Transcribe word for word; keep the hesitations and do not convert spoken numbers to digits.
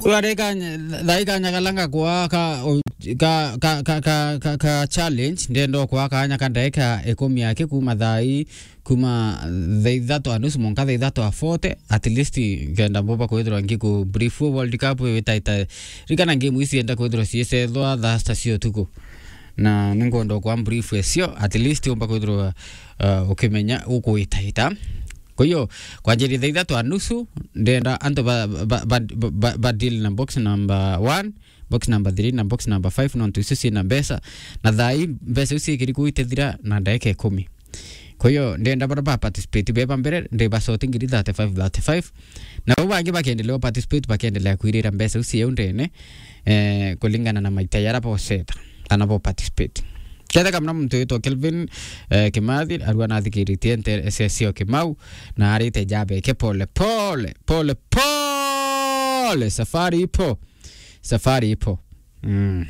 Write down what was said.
Wari kanya, thaa ii kanya kala ngakwa ka, ka, ka, ka, ka, ka, ka challenge, ndenda okwa kanya ka ndaika ikumi aki kuma thaa ii, kuma thaa ithatu a nusu mwanka thaa ithatu a forty, at least nkenda mbuba kwithirwa ngiku brief World Cup witaita. Rikana game ici enda kwithirwa ciicethwa thaa sita cia utuku. Na ninkwenda okwa brief ecio, at least umba kwithirwa, uh, ukimenya ukwitaita. Kwa hiyo, kwanjiria thaa ithatu a nusu, ndenda antu ba, ba, ba, ba, ba deal na box number one, box number three na box number five, nontu icio ciina mbeca. Na thaa ii mbeca iu ciikiri kuu itithira na ndaika ikumi. Kwa hiyo, ndenda bara ba participate beba mbere, ndi ba sort ngiri thirty-five, thirty-five. Na bau bangi bakendelea participate, bakendelea kwirira mbeca iu cieu ndene, eh, kulingana na maita yara boceta, kana bo participate. Ketheka muna muntu witwa Kelvin, eh, Kimathi, arua nathikiritie nte S S O Kimau, na arite jabeke pole, pole, pole, pole, safari ipo, safari ipo. Mm.